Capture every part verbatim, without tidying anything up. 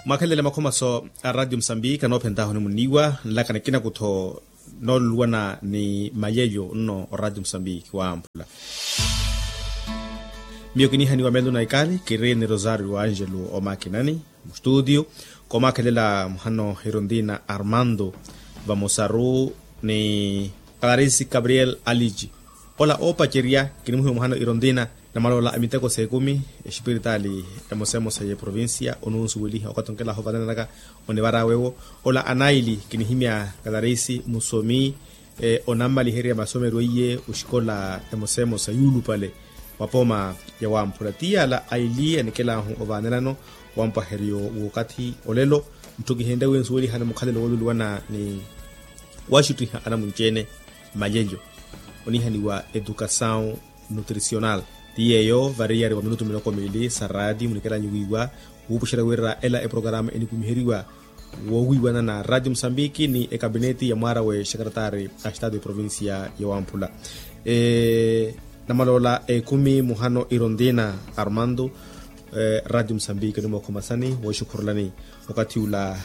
Mwakhelele makhomaso a radio musambiki anoophentahu ni muniiwa nlaka nikina kutho nooluluwana ni malyeyo nno o radio musambiki waamphula. Miyo kinihaniwa melo na ikali kiri ni rosario angelo omakinani, mustutio komakhelela muhano hirontina armando vamosaru ni clarisi gabriel aliji. Ola oopacerya kinimuhiwa muhano irontina namalola a miteko s'ekumi, espiritali emosemosa y'eprovincia onunsuweliha okathi onkelahu ovanelanaka onivarawewo. Ola anaili kinihimya clarisi musomi onammaliherya masomero iye oxikola emosemosa yuulupale wa pooma ya wamphula ti yala aili anikelahu ovaanelano wampwaheryo w'okathi olelo. Ntthu kihenrye wi nsuwelihana mukhalelo wooluluwana ni waxuttiha anamunci-ene malelyo onihaniwa educasaw nutricional. Ti yeeyo variyari wa minutu miloko miili sa raati munikelanyu wiiwa wuupuxela wira ela eprokarama enikumiheriwa woowiiwana na radio musambiki ni ekabineti ya mwaara w'exekaretari a estado ya provincia ya wamphula. Namaloola ekumi muhano irontina armando radio musambiki onimookhoma sani wooxukhurulani okathi ula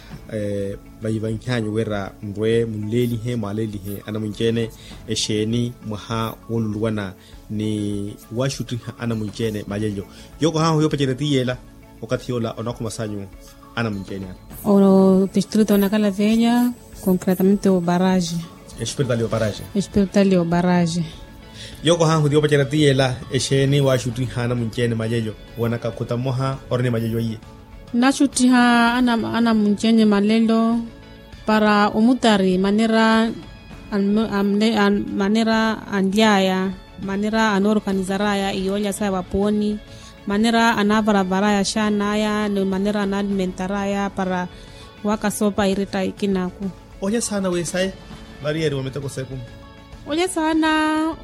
vayivanhyanyu wira nrwe munleelihe mwaaleelihe anamunci-ene exeeni mwaha wooluluwana ni waxuttiha anamunci-ene malelyo. Yookohahu yoopacerya ti yeela okathi yoola onakhomasanyu anamunci-ene ala. Oro distrito onakalaveya concretamente oparaje. Espiritali oparaje. Espiritali oparaje. Yookohahu ti yoopacerya ti yeela exeeni waxuttiha anamunci-ene malelyo wanaka khuta mmoha ori ni malelyo iye. Nnaxuttiha anamunci-ene malelo para omutari manera manera anly'aya manera anoorkanizar'aya iyoolya saya vapooni manera anaavaravar'aya axaan'aya ni manera anaalimentar'aya para waka soopa iretta ikinaku. Olya saana wi sayi variyari wa miteko s'ekumi. Olya saana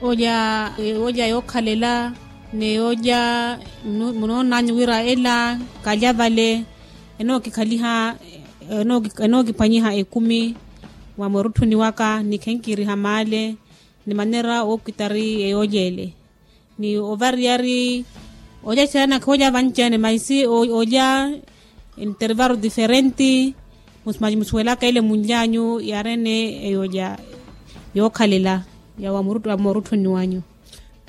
olya ewoolya yookhalela n'eyoolya munoonanyu wira ela kalya vale enookikhaliha enookiphwanyiha ekumi wa murutthuni waka ni khenkiriha maale ni manera ookitari eyoolya ele ni ovariyari olya saana khoolya vanci-ene maisi olya intervaro diferenti. Musuwelaka ele munlyanyu yaari-ene eyoolya yookhalela ya wa murutthuni wanyu.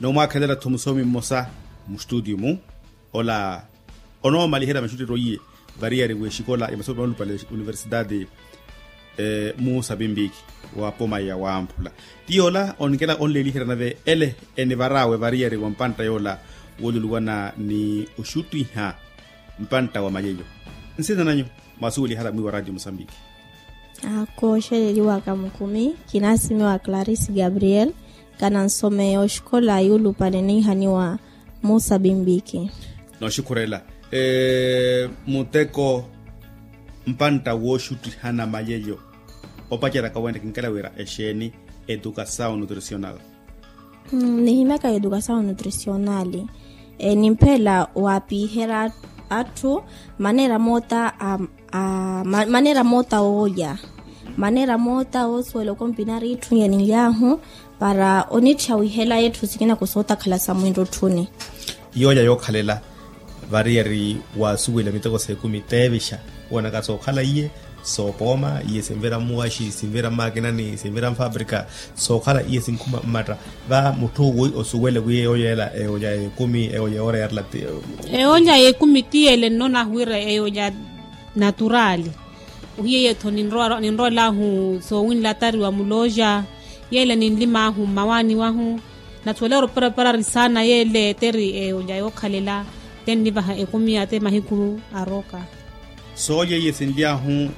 Noomwaakhelela-tho musomi mmosa mustutio-mu ola onoomaliherya maxutteryo iye variyari w'exikola ya masomero anulupale universidade musa pimpiki wa pomaya wamphula ti yoola onikela onleeliherya nave ele enivar'awe variyari wa mpantta yoola wooluluwana ni oxuttiha mpantta wa malelyo. Nsina nanyu mwasuwelihala mwiiwa radio musambiki. Kooxeleliwaka mukumi kinasimiwa clarisse gabriel kana nsomeya oxikola yuulupale niihaniwa musa pimpiki. Nooxukhurela muteko mpantta wooxuttihana malelyo opaceraka wene kinkela wira exeeni educasaw nutricional. Nihimyaka educasaw nutricional nimphela waapiherya atthu manera moota manera moota oolya manera moota oosuwela okompinari itthu nyeni nlyahu para onitthiya wihela etthu sikina kusootakhala sa mwintotthuni. Yoolya yookhalela variyari waasuwela miteko s'ekumi teevixa woonaka sookhala iye soopooma iye sinvira mmuwaxi sinvira mmakinani sinvira mfabrika sookhala iye sinkhuma mmatta va mutthu wi osuwele wi eyoolya ela eyoolya y'ekumi eyoolya yoora yarila ti eyoolya y'ekumi ti ele nnonahu wira eyoolya naturali. Ohiye yeetho ninrowelahu soowinlatariwa mulooja yeele ninlimaahu mmawaani wahu. Nathuwela ori oparaparari saana yeele teri eyoolya yookhalela tennivaha ekumi ate mahiku arooka. Soolya iye sinly'ahu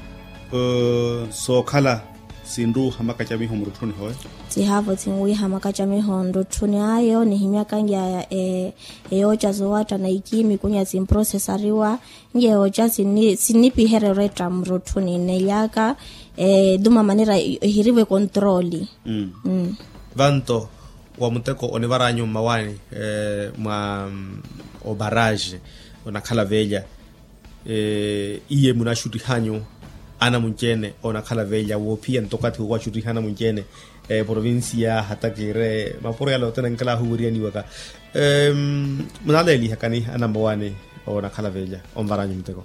sookhala sinruuha makacamiho murutthuni hoyo. Sihaavo sinwiiha makacamiho nrutthuni ayo nihimyaka nly'aya eyooca zoowatta na ikiimi kunya simprosesariwa nlya eyooca sinnipiherya oretta murutthuni nneely'aka etuma manera ehirivo ekontrooli. Vanto wa muteko onivaranyu mmawaani mwa obaraje onakhala veelya iye munaxuttihanyu anamunci-ene onakhala veelya woophiya nto okathi woowaxuttiha anamunci-ene eprovincia hata kiire mapuro yala othene nkelahu wiriyanyiwaka munaleelihakani anammawaani onakhala veelya onvaranyu muteko.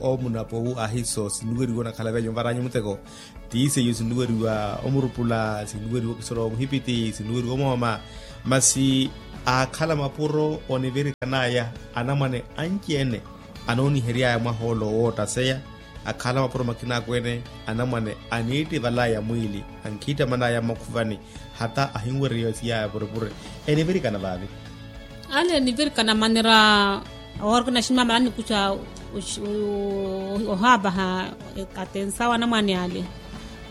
Omunapowu ahiso sinuweriwa onakhala vyanyu onvar'anyu muteko. Ti seiyo sinuweriwa omurupula, sinuweriwa okisoro omuhipiti, sinuweriwa omooma. Masi aakhala mapuro onivirikan'aya anamwane anci-ene anoonihery'aya mwaha ole owoottaseya. Akhala mapuro makina akweene anamwane aniittival'aya mwiili ankhiittaman'aya mmakhuvani. Hata ahinwerya yoosi yaya purepure enivirikana vaavi. Ale enivirikana manera owarikana ximamala anikuxa ohaavaha. Katensawa anamwane ale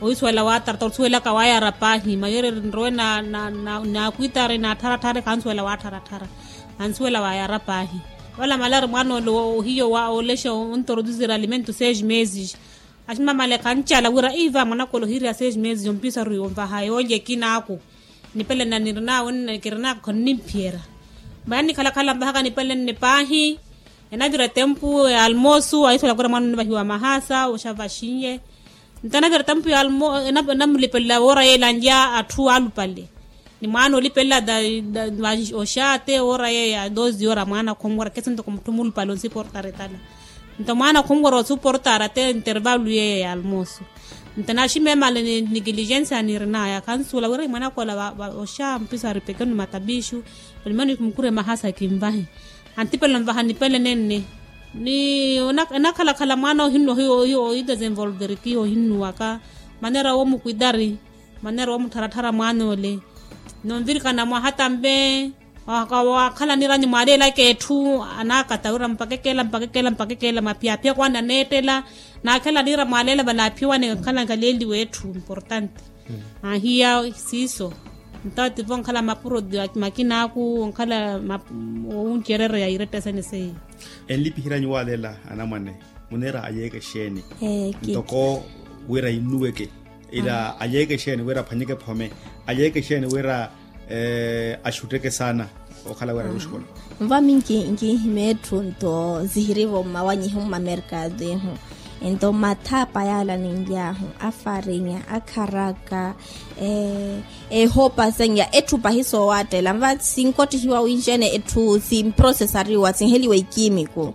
oisuwela waataratara osuwelaka wayara paahi mayoreeri nrowe na na na nakwitari naatharatthare khansuwela waatharathara. Ansuwela wayara paahi. Wala malari mwaana ole ohiyo wa olexa ontoroduzira alimento seis meses. Aximamale khancala wira iva mwanaka ole ohiriya seis meses ompisaru onvaha yoolya ekina aku. Nipele nna nirinawe nna kirinaka khonnimpiyera. Maya nnikhalakhala nvahaka nipele nne paahi. Enavira etempu ya almosu aisuwela wira mwaana onivahiwa mahasa oxa vaxinye. Nto anavira etampu ya almo enamulipelela woora yeela anlya atthu alupale. Ni mwaana olipelela oxaate woora yeeya doze ora mwaana khonwera kesi ntoko mutthu mulupale onsiportara etala. Nto mwaana khonwera osuportara te intervalu yeeya ya almosu. Nto naximemale ni nigiligensia nirinaya khansuula wira mwaana khola oxa mpiso aripeke ni matabixu. Olimani mukure mahasa kinvahe. Antipelela onvaha nipele nenne. Ni enakhalakhala mwaana ohinnuwa ohiyo ohiyo ohidesenvolverikiha ohinnuwaka. Manera womukwitari manera womuttharatthara mwaana ole. Nonvirikana mwaha tambe wakhala niranyu mwaleelaka etthu. Anakata wira mpaka ekeela mpaka ekeela mpaka ekeela mapyapya kwani aneettela. Nakhela niira mwaleela vale aphiwane khala nkaleeliwa etthu importante. Ahiya siiso. Nto ativo onkhala mapuro makina aku onkhala owuncerereya iretta sene seiyo. Enlipiheranyu waleela anamwane munera ayeeke exeeni? Ntoko wira innuweke ila ayeeke exeeni wira aphwanyeke phome? Ayeeke exeeni wira axutteke saana okhala wira aruxikola? Nvami nkinhima etthu nto zihirivo mmawanyihu mmamerkado ihu. Nto mathapa yaala ninly'ahu afarinya akharaka ehopa senya etthu pahi soowaattela nva sinkotthihiwa winxene etthu simprosesariwa sinheliwa ikimiku.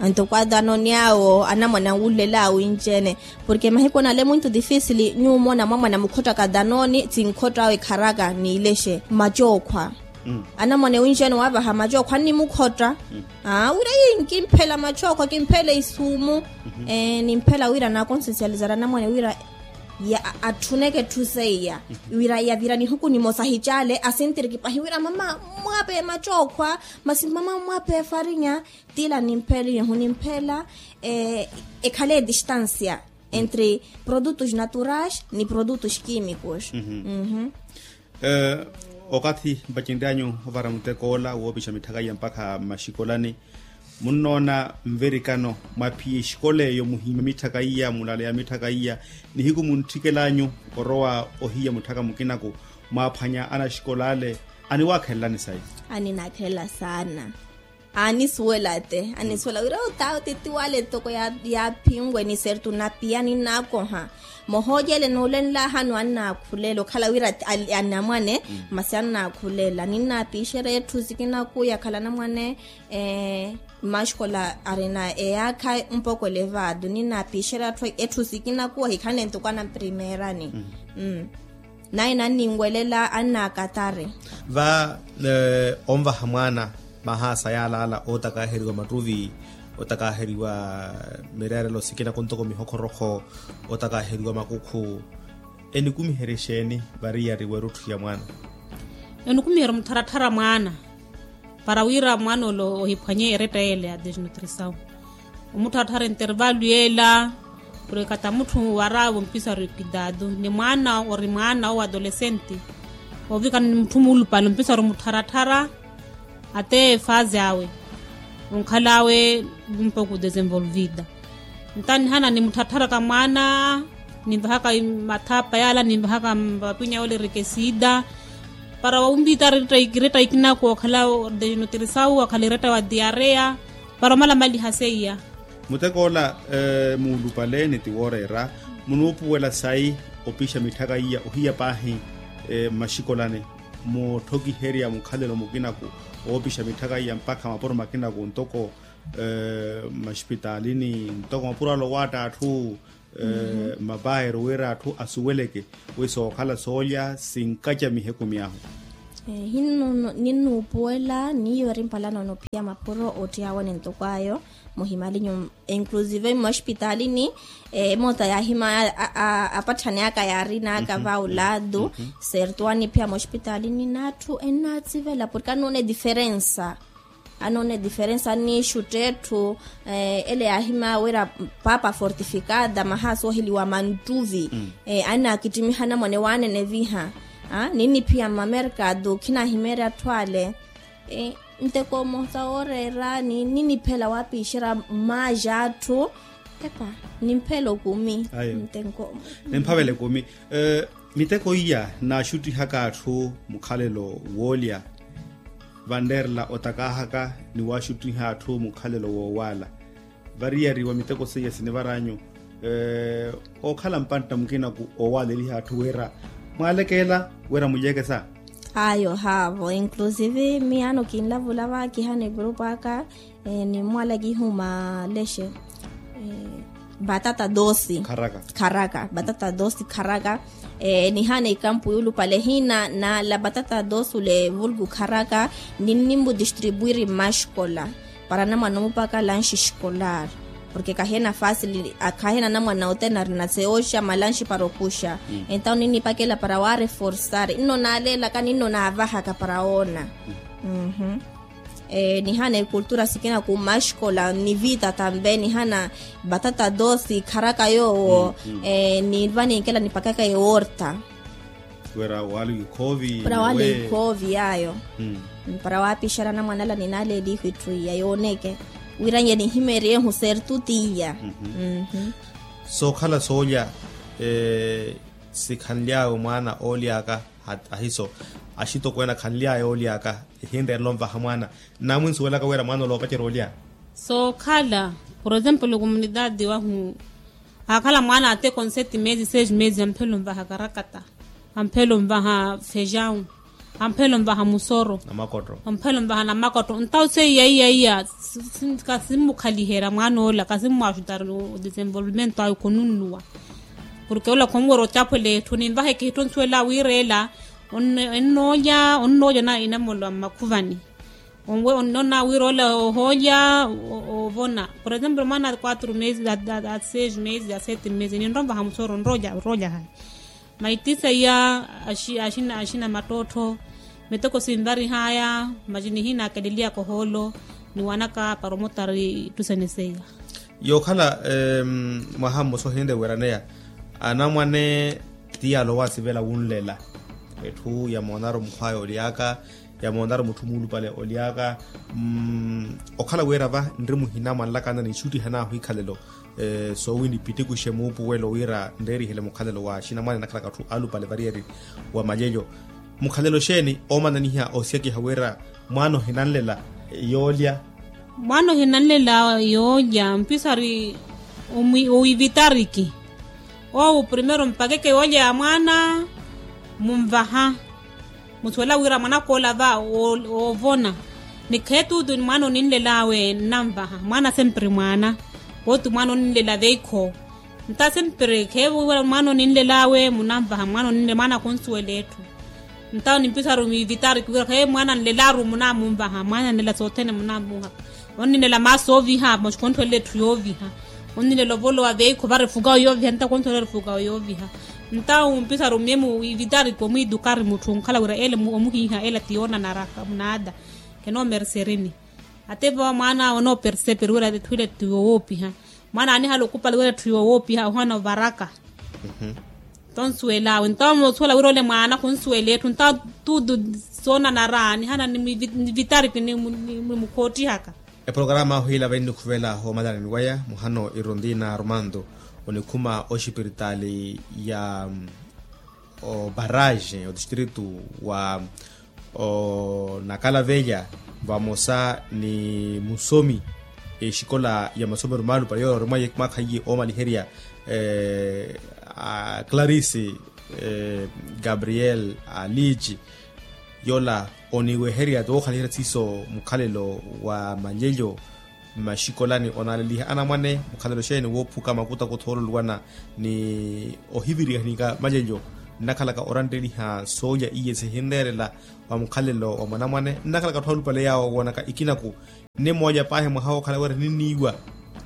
Nto kwadanoni awo anamwane anwullel'awe winxene. Porke mahiku anale muito difisili nyuwo omona mwamwane amukhottaka danoni sinkhott'awe kharaka niilexe macookhwa. Anamwane winxene waavaha macookhwa annimukhotta. Wira yi nkimphela macookhwa kimphela isumu. Nimphela wira naakonsesializara anamwane wira atthuneke etthu seiya. Wira yavira nihuku nimosa ahicale asintiriki pahi wira mama mmwape macookhwa. Masi mama mmwape farinya tila nimphela ihu nimphela ekhale distansia entre produtos naturais ni produtos kimicos. Okathi mpacinryanyu ovara muteko ola woopixa mitthaka iya mpakha mmaxikolani munnoona nvirikano mwaphiya exikola eyo muhiima mitthaka iya mulaleya mitthaka iya nihiku muntthikel'anyu orowa ohiya mutthaka mukinaku mwaaphwanya anaxikola ale aniwaakhelelani sayi? Aninaakhelela saana. Anisuwela te anisuwela wira otawo titiwale toko yaaphinwe ni sertu napiya ninnaakoha. Mohoojele noolenlahanu annaakhulela okhala wira anamwane masi annaakhulela ninnaapiixerya etthu sikinaku yakhala anamwane. Mmaxikola arina eyaakha mpoko elevado ninnaapiixerya atthu etthu sikinaku ahikhanle ntoko anamprimeerani. Naye nanninwelela annaakatari. Va onvaha mwaana mahaasa yaalaala ootakaheriwa mattuvi, ootakaheriwa mireerelo sikinaku ntoko mihokhorokho, ootakaheriwa makukhu enikumiherya exeeni variyari werutthu ya mwaana? Enikumiherya omutharatthara mwaana para wira mwaana ole ohiphwanye eretta yeela ya desnutrisawu. Omuttharattara entervalu yeela purikata mutthu waraavo mpisaru ekidadu ni mwaana ori mwaana owo adolescente. Ovikana ni mutthu muulupale ompisaru muttharattara ate efaazi awe onkhal'awe mpoko desenvolvida. Nta nihana nimuttharattharaka mwaana ninvahaka mathapa yaala ninvahaka mapwinya yoolirika esiida para wawumpita retta ikinaku okhala desnutrisawu okhala eretta wa diareya para omalamaliha seiya. Muteko ola muulupale ni ti wooreera munuupuwela sayi opixa mitthaka iya ohiya paahi mmaxikolani mutthokiherya mukhalelo mukinaku oopixa mitthaka iya mpakha mapuro makinaku ntoko Maxipitalini ntoko mapuro ale owaatta atthu, mapayero wira atthu asuweleke wi sookhala soolya sinkacamihe ekumi ahu. Ninnuupuwela niyo eri mpalanono phiya mapuro ottiyawani ntoko ayo. Muhimalinyu inclusive mmoxpitalini, emoota yaahima apatthani aka yaarina aka va ulaadu. Sertu aniphiya mmoxpitalini n'atthu ennaatsivela porke anoona ediferensa. Anoona ediferensa annixutta etthu. Ele yaahima wira paapa fortifikada mahaasi ooheliwa manttuvi. Annaakittimihana mwane waanene viha. Ninniphiya mmamerkatu khinaahimeerya atthu ale. Nteko mmosa wooreera ni ninniphela waapiixerya mmaaja atthu. Epa, nimphela okumi. Ayo. Ntenko. Nimphavela ekumi. Miteko iya naaxuttihaka atthu mukhalelo woolya. Vanreerela otakaahaka ni waaxuttiha atthu mukhalelo woowaala. Variyari wa miteko seiya sinivaranyu ookhala mpantta mukinaku oowaaleliha atthu wira mwaalekela wira mulyekesa. Ayo haavo inclusive miyaano kinlavula va kihana epurupu aka. Nimmwala kihuma lexe. Batata dosi. Kharaka batata dosi kharaka. Nihana ikampu yuulupale hina nala batata dosi ule vulgu kharaka. Ninnimbu distribuiri mmaxikola para anamwana omupaka lanxi xikolar. Porke kahena fasili kahena anamwana othene arina seoxa malanxi para okuxa. Entawo ninnipakela para waareforsari nno naaleelaka ninno naavahaka para oona. Nihana ekultura sikina ku maxikola nivita tambe nihana batata dosi kharaka yoowo. Niva ninkela nipakaka eworta. Wira waali wikhoovi wira waali wikhoovi yaayo. Para waapixara anamwanala ninaaleelihu itthu iya yooneke wira nye nihimeeryehu sertu ti iya. Sookhala soolya sikhanly'awe mwaana ooly'aka. Ahiso axitokweene akhanly'aya ooly'aka ehinreerela onvaha mwaana. Nnaamwinsuwelaka wira mwaana ole oopacerya olya. Sookhala por exemplo comunidade wahu aakhala mwaana ateko nseti mezi seis mezi amphela onvaha karakata. Amphela onvaha fejawu. Amphela onvaha musoro. Amphela onvaha namakotto ntawu seiya iya iya. Kasimmukhaliherya mwaana ola kasimmwaxutari odesenvolvimento awe khonunnuwa. Porke ola khonwera ocaphwela etthu ninvaheke itthu onsuwela wiireela. Onnoolya onnoolya na inamolo a mmakhuvani. Onnoona wiira ola ohoolya ovona por exemplo mwaana a quatro mezi a seis mezi a sete mezi ninrwa onvaha musoro onroolya onroolya haya. Maitisa iya axina axina mattottho. Miteko sinvarihaya maci nihinaakeleliyaka ohoolo. Niwanaka paromotari ittusene seiya. Yookhala mwaha mmosa ohinre wiraneya anamwane ti yaala owaasivela wunlela. Etthu yamoonaru mukhwaya oly'aka yamoonaru mutthu muulupale oly'aka. Okhala wira va nri muhina mwanlakana nixuttihan'ahu ikhalelo soowini pitikuxe muupuwelo wira nreerihele mukhalelo wa axinamwane nakhalaka atthu alupale variyari wa malyelyo. Mukhalelo xeeni oomananiha oosyakiha wira mwaana ohinanlela yoolya. Mwaana ohinanlela yoolya mpisari owivitariki. Owo primero mpakeke yoolya ya mwaana munvaha. Musuwela wira mwanakoola va oovona. Ni kheetuutu ni mwaana oninlel'awe nnanvaha mwaana sempre mwaana. Kootu mwaana oninlela veikho. Nta sempre kheevo wira mwaana oninlel'awe munanvaha mwaana oninlela mwaana khunsuwela etthu. Nta nimpisaru miivitari kiwira kheevo mwaana anlel'aru munaamunvaha mwaana anlela sothene munaamuhaka. Onnilela maasi ooviha masi khonttholela etthu yooviha. Onnilela ovolowa veikho vari fukawo yooviha nta khonttholela vari fukawo yooviha. Nta umpisaru miemu ivitari kiwo mwiitukari mutthu onkhala wira ele omuhiiha ele ati yoonanaraka munaada. Khenoomerserini. Ate vowa mwaana onooperseperi wira etthu ile tti yowoopiha. Mwaana aanihala okupali wira etthu yowoopiha ohana ovaraka. Nto nsuwel'awe nto moosuwela wira ole mwaana khunsuwela etthu nto tuutu soonanara nihana nivitariki nimukhottihaka. Eprogarama ahu ila vainnikhuvela omalanani waya muhano irondina armando onikhuma oxipiritaali ya obarrage otistritu wa onakalavelya vamosa ni musomi exikola ya masomero maalupale yoola orimwa mwaakha iye oomaliherya a clarice gabriel aliji yoola oniweherya tookhalihela siiso mukhalelo wa malyelyo mmaxikolani onaaleliha anamwane mukhalelo xeeni woophuka makuta kuthoololuwana ni ohiviriha ni ka malelyo nnakhalaka orantteliha soolya iye sihinreerela wa mukhalelo wa mwanamwane nnakhalaka atthu alupale yaawo woonaka ikinaku nne moolya paahi mwaha wookhala wira ninniiwa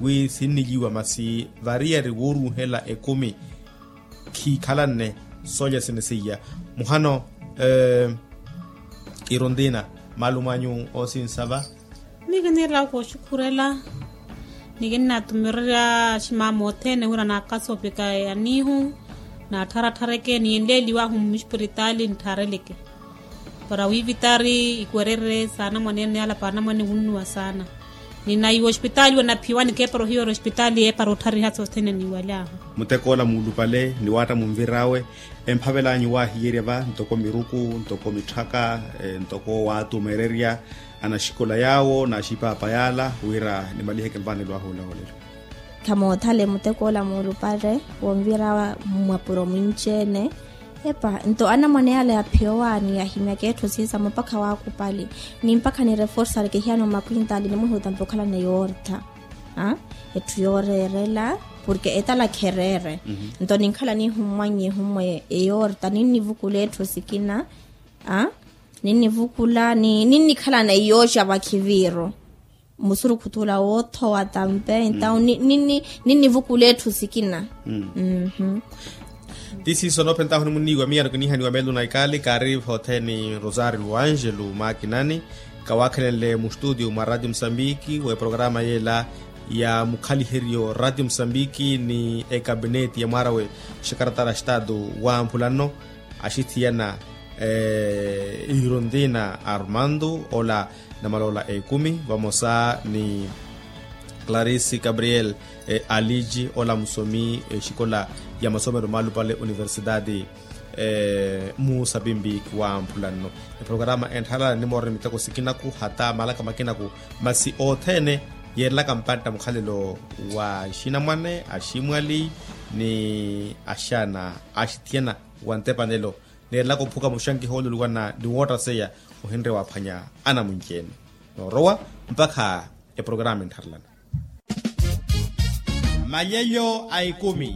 wi sinnilyiwa masi variyari wooruuhela ekumi khiikhalanne soolya sinisiya muhano irontina maalumo anyu oosinsava. Miyo kiniirela kooxukhurela ni kinnatumirerya aximama othene wira naakasa opika ya niihu naattharatthareke ni enleeliwahu mmuxpiritaali ntthareleke para wiivitari ikwererye saana mwaneene yala paana mwaneene wunnuwa saana. Ni naiwa ospitaali wanaphiwani keepara ohiwera ospitaali eepara otthariha sothene niiwaly'ahu. Mutekoola muulupale ni waatta munvir'awe emphavel'anyu waahiyerya va ntoko miruku ntoko mitthaka ntoko waatumererya anaxikola yaawo n'axipaapa yaala wira nimaliheke nvaanelo ahu olawolelo. Khamoothale mutekoola muulupale wonvira mwapuro mwinci-ene. Epa nto anamwane yaale yaphiyowaani yahimyaka etthu siisamo mpakha waakupali ni mpakha nireforsareke ehiyano makwintaali nimwihutampe okhalana yoortha etthu yooreerela porke etalakha ereere. Nto ninkhala niihummwannye ehummwa eyoortha ninnivukula etthu sikina ninnivukula ninnikhalana iyooca vakhiviiro musurukhu t'ula woothowa tampe entawu ninnivukula etthu sikina. Ti siiso noophentahu nimunniiwa miyaano kiniihaniwa meelo na ikaali kaari othene rosario angelo maakinani kawaakhenenle mustutio mwa ratio musambiki w'eprograma yeela ya mukhaliheryo ratio musambiki ni ekabineti ya mwaara we xakaratara xitaatu wamphula nno axithiyana irontina armando ola namaloola ekumi vamosa ni clarisi gabriel aliji ola musomi exikola ya masomero maalupale universidade musapimbi wamphula nno eprograma entthalala nimooroni miteko sikinaku hata malaka makinaku masi othene yeerelaka mpantta mukhalelo wa axinamwane aximwali ni axana axithiyana wa ntepanelo neerelaka ophuka muxankiha oluluwana ni woottaseya ohinre waaphwanya anamwinci-ene noorowa mpakha eprograma enttharelana. Malyelyo a ekumi.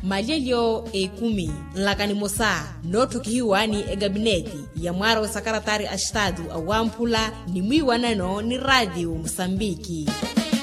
Malyelyo a ekumi nlaka nimosa nootthokihiwa ni ekabineti ya mwaara wa sakaratari a xitaatu awamphula ni mwiiwanano ni ratio musambiki.